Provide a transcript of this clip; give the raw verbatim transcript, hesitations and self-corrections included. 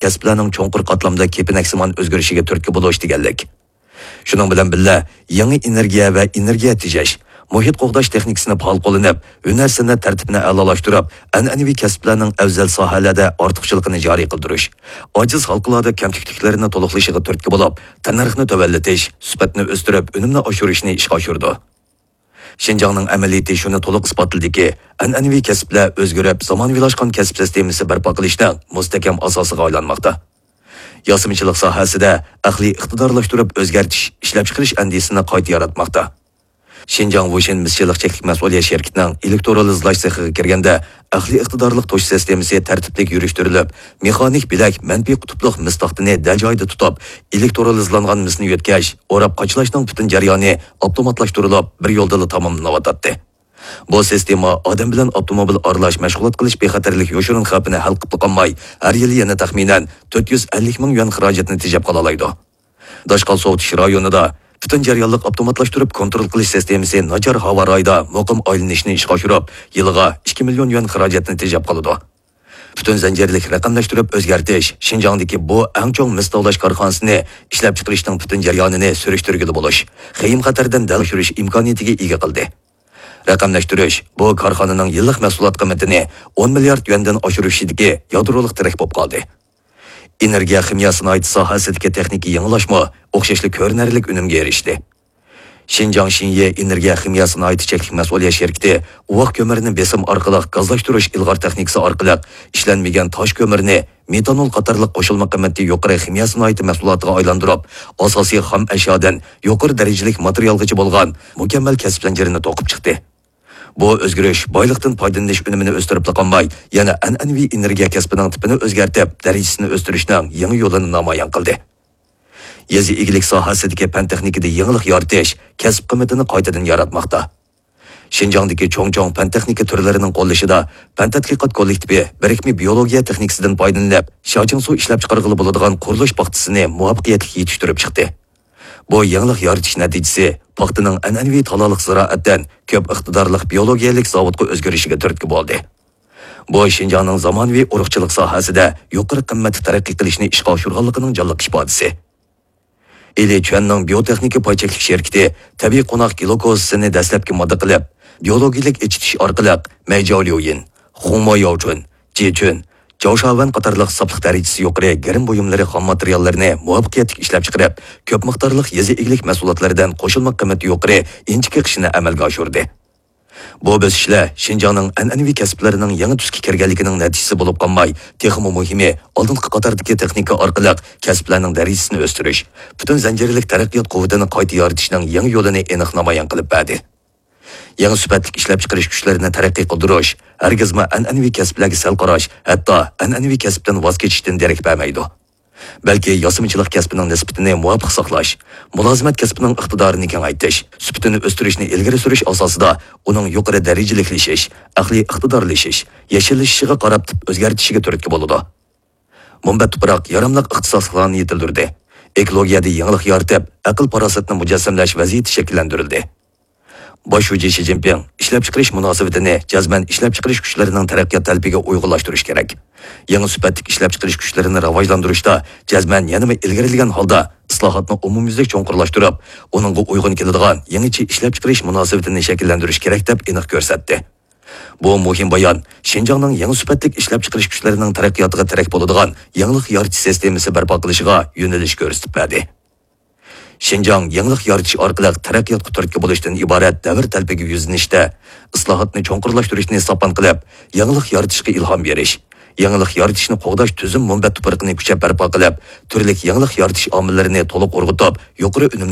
كەسىپلەرنىڭ چوڭقۇر قاتلامدا كېپىنەكسىمان ئۆزگىرىشىگە تۈرتكە بولۇش دېگەنلىك. شۇنىڭ بىلەن بىللە، يېڭى ئېنېرگىيە ۋە ئېنېرگىيە تېجەش، مۇھىت قوغداش تېخنىكىسىنى پائال قوللىنىپ، ھۈنەر سەنئەت تەرتىپىنى ئەلالاشتۇرۇپ، ئەنئەنىۋى كەسىپلەرنىڭ ئەۋزەل ساھەلەردە ئارتۇقچىلىقىنى جارى قىلدۇرۇش، ئاجىز ھالقىلاردا كەمتۈكلۈكلىرىنى تولۇقلىشىغا تۈرتكە بولۇپ، تەننەرخنى تۆۋەنلىتىش، سۈپەتنى ئۆستۈرۈپ، ئۈنۈمنى ئاشۇرۇشنى ئىشقا ئاشۇرىدۇ. شىنجاڭنىڭ ئەمەلىيىتى شۇنى تولۇق ئىسپاتلىدىكى، ئەنئەنىۋى كەسىپلەر ئۆزگىرىپ، زامانىۋىلاشقان كەسىپ سىستېمىسى بەرپا قىلىشنىڭ مۇستەھكەم ئاساسىغا ئايلانماقتا. ياسىمىچىلىق ساھەسىدە ئەقلىي ئىقتىدارلاشتۇرۇپ ئۆزگەرتىش، ئىشلەپچىقىرىش ئەندىزىسىنى قايتا ياراتماقتا. شىنجاڭ ۋۇشىن مىسچىلىق چەكلىك مەسئۇلىيەت شىركىتىنىڭ ئېلېكترولىزلاش سېخىغا كىرگەندە، ئەقلىي ئىقتىدارلىق توشۇش سىستېمىسى تەرتىپلىك يۈرۈشتۈرۈلۈپ، مېخانىك بىلەك مەنپىي قۇتۇپلۇق مىس تاختىنى دەل جايىدا تۇتۇپ، ئېلېكترولىزلانغان مىسنى يۆتكەش، ئوراپ قاچىلاشنىڭ پۈتۈن جەريانى ئاپتوماتلاشتۇرۇلۇپ، بىر يولدىلا تاماملىنىۋاتاتتى. بۇ سىستېما ئادەم بىلەن ئاپتوموبىل ئارىلاش مەشغۇلات قىلىش بىخەتەرلىك يوشۇرۇن خەۋپىنى ھەل قىلىپلا قالماي، ھەر يىلى يەنە تەخمىنەن تۆت يۈز ئەللىك مىڭ يۈەن خىراجەتنى تېجەپ قالالايدۇ. داشقال سوۋۇتۇش رايونىدا پۈتۈن جەريانلىق ئاپتوماتلاشتۇرۇپ كونترول قىلىش سىستېمىسى ناچار ھاۋا رايىدا مۇقىم ئايلىنىشنى ئىشقا ئاشۇرۇپ، يىلىغا ئىككى مىليون يۈەن خىراجەتنى تېجەپ قالىدۇ. پۈتۈن زەنجىرلىك رەقەملەشتۈرۈپ ئۆزگەرتىش شىنجاڭدىكى بۇ ئەڭ چوڭ مىس تاۋلاش كارخانىسىنى ئىشلەپچىقىرىشنىڭ پۈتۈن جەريانىنى سۈرۈشتۈرگىلى بولۇش، خېيىم خەتەردىن دەل ئاشۇرۇش ئىمكانىيىتىگە ئىگە قىلدى. رەقەملەشتۈرۈش بۇ كارخانىنىڭ يىللىق مەھسۇلات قىممىتىنى ئون مىليارد يۈەندىن ئاشۇرۇشىدىكى يادرولۇق تىرەك بولۇپ قالدى. ئېنېرگىيە خىمىيە سانائىتى ساھەسىدىكى تېخنىكا يېڭىلاشمۇ ئوخشاشلا كۆرۈنەرلىك ئۈنۈمگە ئېرىشتى. شىنجاڭ شىنيې ئېنېرگىيە خىمىيە سانائىتى چەكلىك مەسئۇلىيەت شىركىتى ئۇۋاق كۆمۈرىنى بېسىم ئارقىلىق گازلاشتۇرۇش ئىلغار تېخنىكىسى ئارقىلىق ئىشلەنمىگەن تاش كۆمۈرىنى مېتانول قاتارلىق قوشۇلما قىممىتى يۇقىرى خىمىيە سانائىتى مەھسۇلاتىغا ئايلاندۇرۇپ، ئاساسىي خام ئەشيادىن يۇقىرى دەرىجىلىك ماتېرىيالغىچە بولغان مۇكەممەل كەسىپ زەنجىرىنى توقۇپ چىقتى. بۇ ئۆزگىرىش بايلىقتىن پايدىلىنىش ئۈنۈمىنى ئۆستۈرۈپلا قالماي، يەنە ئەنئەنىۋى ئېنېرگىيە كەسپىنىڭ تىپىنى ئۆزگەرتىپ، دەرىجىسىنى ئۆستۈرۈشنىڭ يېڭى يولىنى نامايان قىلدى. يېزا ئىگىلىك ساھەسىدىكى پەن تېخنىكىدا يېڭىلىق يارىتىش كەسىپ قىممىتىنى قايتىدىن ياراتماقتا. شىنجاڭدىكى چوڭ-چوڭ پەن تېخنىكا تۈرلىرىنىڭ قوللىشىدا پەن تەتقىقات كوللېكتىپى بىرىكمە بىيولوگىيە تېخنىكىسىدىن پايدىلىنىپ، شياچىڭسۇ ئىشلەپچىقارغىلى بولىدىغان قۇرۇلۇش پاختىسىنى مۇۋەپپەقىيەتلىك يېتىشتۈرۈپ چىقتى. بۇ يېڭىلىق يارىتىش نەتىجىسى پاختىنىڭ ئەنئەنىۋى تالالىق زىرائەتتىن كۆپ ئىقتىدارلىق بىيولوگىيەلىك زاۋۇتقا ئۆزگىرىشىگە تۈرتكە بولدى. بۇ شىنجاڭنىڭ زامانىۋى ئۇرۇقچىلىق ساھەسىدە يۇقىرى قىممەتتە تەرەققىي قىلىشنى ئىشقا ئاشۇرغانلىقىنىڭ جانلىق ئىپادىسى. ئىلى چۈەننىڭ بىيوتېخنىكا پاي چەكلىك شىركىتى تەبىئىي قوناق گلۇكوزىسىنى دەسلەپكى ماددا قىلىپ، بىيولوگىيەلىك ئېچىتىش ئارقىلىق مەيجاۋليۇيىن، خۇڭمو ياۋچۈن، جىچۈن، جاۋشاۋەن قاتارلىق ساپلىق دەرىجىسى يۇقىرى گىرىم بۇيۇملىرى خام ماتېرىياللىرىنى مۇۋەپپەقىيەتلىك ئىشلەپچىقىرىپ، كۆپ مىقدارلىق يېزا ئىگىلىك مەھسۇلاتلىرىدىن قوشۇلما قىممىتى يۇقىرى ئىنچىكە قىلىشنى ئەمەلگە ئاشۇردى. بۇ بۆسۈشلەر شىنجاڭنىڭ ئەنئەنىۋى كەسىپلىرىنىڭ يېڭى تۈسكە كىرگەنلىكىنىڭ نەتىجىسى بولۇپ قالماي، تېخىمۇ مۇھىمى، ئالدىنقى قاتاردىكى تېخنىكا ئارقىلىق كەسىپلەرنىڭ دەرىجىسىنى ئۆستۈرۈش، پۈتۈن زەنجىرلىك تەرەققىيات قۇۋۋىتىنى قايتا يارىتىشنىڭ يېڭى يولىنى ئېنىق نامايان قىلىپ بەردى. يېڭى سۈپەتلىك ئىشلەپچىقىرىش كۈچلىرىنى تەرەققىي قىلدۇرۇش ھەرگىزمۇ ئەنئەنىۋى كەسىپلەرگە سەل قاراش، ھەتتا ئەنئەنىۋى كەسىپتىن ۋاز كېچىشتىن دېرەك بەرمەيدۇ. بەلكى ياسىمىچىلىق كەسپىنىڭ نىسبىتىنى مۇۋاپىق ساقلاش، مۇلازىمەت كەسپىنىڭ ئىقتىدارىنى كېڭەيتىش، سۈپىتىنى ئۆستۈرۈشنى ئىلگىرى سۈرۈش ئاساسىدا ئۇنىڭ يۇقىرى دەرىجىلىكلىشىش، ئەقلىي ئىقتىدارلىشىش، يەشىللىشىشىغا قاراپ تىپ ئۆزگەرتىشىگە تۈرتكە بولىدۇ. مۇنبەت تۇپراق ياراملىق ئىختىساسلىقلارنى يېتىلدۈردى. ئېكولوگىيەدە يېڭىلىق يارىتىپ، ئەقىل-پاراسەتنى مۇجەسسەملەش ۋەزىيىتى شەكىللەندۈرۈلدى. باش شۇجى شى جىنپىڭ ئىشلەپچىقىرىش مۇناسىۋىتىنى جەزمەن ئىشلەپچىقىرىش كۈچلىرىنىڭ تەرەققىيات تەلىپىگە ئۇيغۇنلاشتۇرۇش كېرەك. يېڭى سۈپەتلىك ئىشلەپچىقىرىش كۈچلىرىنى راۋاجلاندۇرۇشتا جەزمەن يەنىمۇ ئىلگىرىلىگەن ھالدا ئىسلاھاتنى ئومۇميۈزلۈك چوڭقۇرلاشتۇرۇپ، ئۇنىڭغا ئۇيغۇن كېلىدىغان يېڭىچە ئىشلەپچىقىرىش مۇناسىۋىتىنى شەكىللەندۈرۈش كېرەك، دەپ ئېنىق كۆرسەتتى. بۇ مۇھىم بايان شىنجاڭنىڭ يېڭى سۈپەتلىك ئىشلەپچىقىرىش كۈچلىرىنىڭ تەرەققىياتىغا تىرەك بولىدىغان يېڭىلىق يارىتىش سىستېمىسى بەرپا قىلىشىغا يۆنىلىش كۆرسىتىپ بەردى. شىنجاڭ يېڭىلىق يارىتىش ئارقىلىق تەرەققىياتقا تۈرتكە بولۇشتىن ئىبارەت دەۋر تەلىپىگە يۈزلىنىشتە، ئىسلاھاتنى چوڭقۇرلاشتۇرۇشنى ساپان قىلىپ، يېڭىلىق يارىتىشقا ئىلھام بېرىش، يېڭىلىق يارىتىشنى قوغداش تۈزۈم مۇنبەت تۇپرىقىنى كۈچەپ بەرپا قىلىپ، تۈرلۈك يېڭىلىق يارىتىش ئامىللىرىنى تولۇق ئۇرغۇتۇپ، يۇقىرى ئۈنۈم